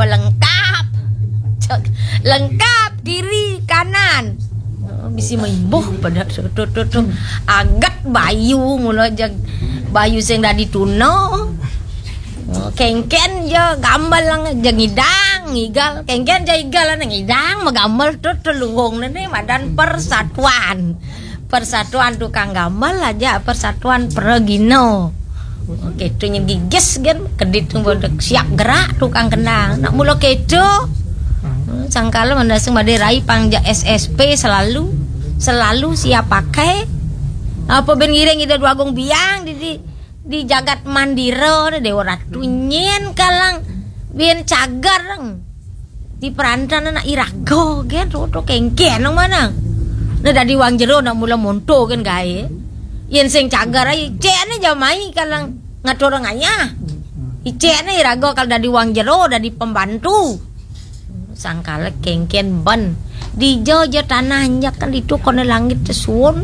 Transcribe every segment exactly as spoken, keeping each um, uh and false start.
Lengkap. Cek, lengkap kiri kanan. Oh, bisi maimbuh pada tu tu tu tu. Agat bayu mula jeg bayu sing dadi tuna. Oh, kengken ja gambel lang ja ngidang ngigal. Kengken ja igal lang ngidang magambel tu tu luhung ne madan persatuan. Persatuan tukang gambel aja persatuan pragina. Oke, tu nyegigis kan kedit tu bodo siap gerak tukang kendang. Nak mula keto. Sangkala mandasang Madai Rai pang ja S S P selalu selalu siap pakai. Apa ben ngiring ida dua agung biang di di, di jagat mandira ni Dewa Ratu nyen kalang ben cagar. Di perantan anak iraga gen rodo kengken nang manang. Nah dadi wang jero nak mula monto kan gae. Yen sing cagar ai cek ne jamai kalang ngatur ngayah. Icek ne iraga kal dadi wang jero dadi pembantu. Sangkala kengken ben. Dija ja tanah nyak kan ditu kone langit tesuun.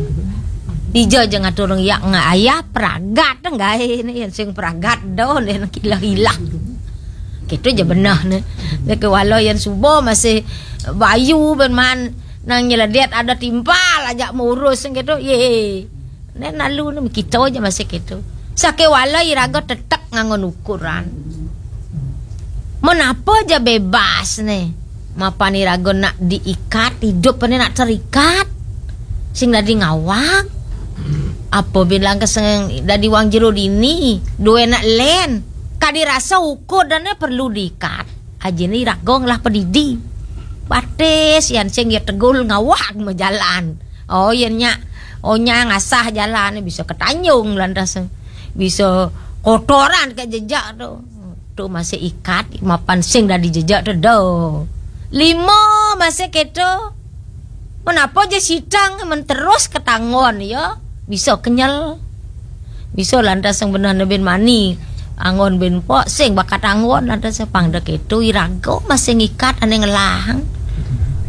Dija ja ngatur ngayah ngayah pragat gae ne yen sing pragat do ne kilah-ilah. Gitu je benah ne. Dia ke walau yang subuh masih bayu ben man nang nyeledet ada timpal aja murus gitu. Ye. Ne nalu ne kita je masih gitu. Sake walau iraga tetek ngangon ukuran. Menapa je bebas ne? Mapan iraga nak diikat, hidup ne nak terikat. Sing dadi ngawang. Apa bilang ke seng dadi wang jero dini, dua nak len. Kadi rasa ukur dan perlu diikat. Aja ni iraga ngelah pedidi. Batis yan sing ya tegul ngawang majalan. Oh yan nya. Oh nya ngasah jalan bisa ketanjung lantas. Bisa kotoran ke jejak tu. Tu masih ikat mapan sing dadi jejak tu do. Lima masih keto. Menapa je sitang men terus ketanggon ya. Bisa kenyal. Bisa lantas sing benah ne ben mani. Anggon ben pok sing bakat anggon lantas sing pang dek itu iraga masih ngikat ane ngelang.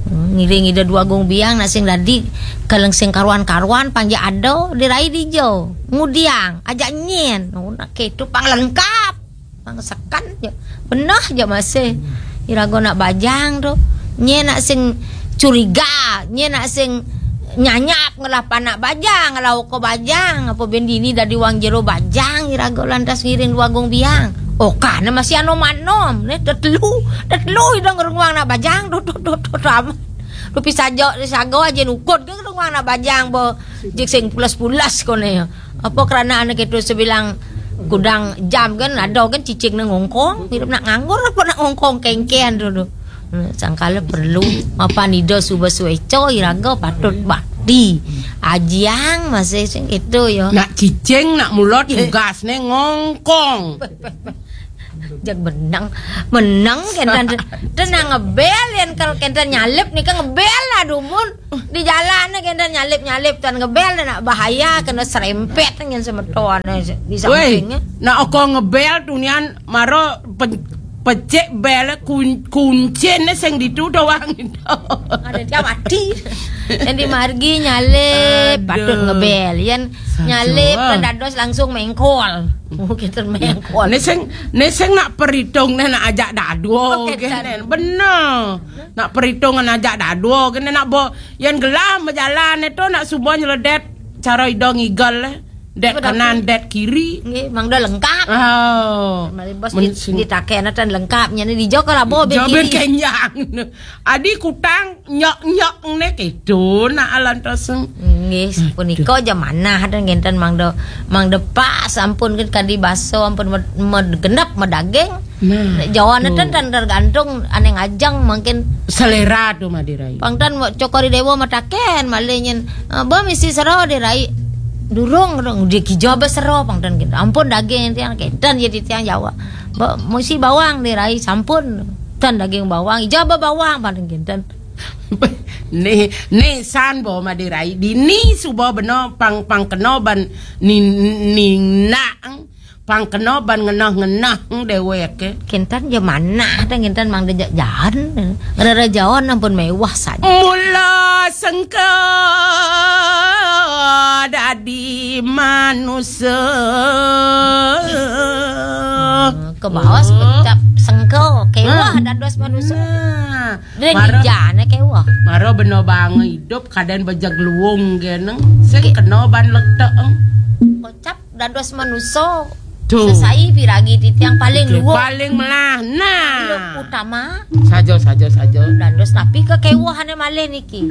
Hmm, ngiring ida dua agung biang nak sing dadi kaleng sing karuan-karuan pang ja ada dirai dijo. Ngudiang ajak nyen. Oh, nak keto pang lengkap. Pang sekan je. Benah je masih. Iraga nak bajang tu. Nye nak sing curiga, nye nak sing nyanyap ngelah panak bajang, ngelah uko bajang, apa ben dini dadi wang jero bajang, iraga lantas ngiring dua agung biang. Oh, kana masih anom-anom, ne tetelu, tetelu ida ngerunguang nak bajang, tu tu tu tu tu amat. Tu pisaja, pisaga aja nukut ke ngerunguang nak bajang, bo jik sing pulas-pulas kone. Apa kerana anak itu sebilang kudang jam kan, ada kan cicing nang ngongkong, hidup nak nganggur apa nak ngongkong kengken tu tu. Hmm, sangkala perlu mapan ida suba sueco iraga patut bakti. Ajiang masih sing itu ya. Nak cicing, nak mulot tugas ne ngongkong. Jak menang, menang kentan tenang ngebel yang kalau kentan nyalip nih kan ngebel lah dumun. Di jalan ne kenten nyalip-nyalip tuan ngebel ne nak bahaya kena serempet nyen semeton ne di Woi, samping ne. Nak oko ngebel tu nian maro pe-, pecik bel kun-, kuncin ne sing ditu doang itu. Ada dia mati. Yang di margi nyalip patut Aduh. Ngebel. Yang Saja. Nyalip kan dados langsung mengkol. Oh, kita mengkol. Ne sing, ne sing nak peritung ne nak ajak dadua Oh, ke kenten. Ne. Bener. Nak peritungan ajak dadua kena nak bo yan gelah bejalan itu nak suba nyeledet cara ida ngigal eh. Det Apa kanan, dapur? Det kiri. Nggih, mangda lengkap. Oh. Mari bos Men- di, sing- ditaken atan lengkap nyane di jok labo ben Jaben kiri. Kenyang. Adi kutang nyok-nyok ne keto nak alan taseng. Nggih, punika aja manah dan ngenten mangda mangda pas ampun kan kadi baso ampun med, med genep medaging. Nah, Jawa tu. Neten tan tergantung ane ngajeng mungkin Selera tu Madirai. Pangtan mo- cokori dewa mataken malih nyen, "Eh, ba misi sero dirai." Durung rong di kijo ba sero pangtan gitu. Ampun daging tiang kenten jadi tiang Jawa. Ba misi bawang dirai sampun. Tan daging bawang, ijo ba bawang pangtan kenten. Ni ni san bo Madirai. Dini suba beno pang pang keno ban ni ni nak. Pang kena ban ngenah-ngenah dewek ke. Kintan je manah dah kintan mang dejak jahan. Rere jaon ampun mewah saja. Mula sengka dadi manusia. Baos kocap sengke, kewah dados manusa. Nah, mara, ninjane kewah. Mara bena bange idup kaden bejeg luung geneng. Sing kena ban lekteeng. Kocap dados manusa. Tuh. Sesai piragi titiang paling luung. Paling melah. Nah. Utama. Saja, saja, saja. Dados napi kekewahane malih niki?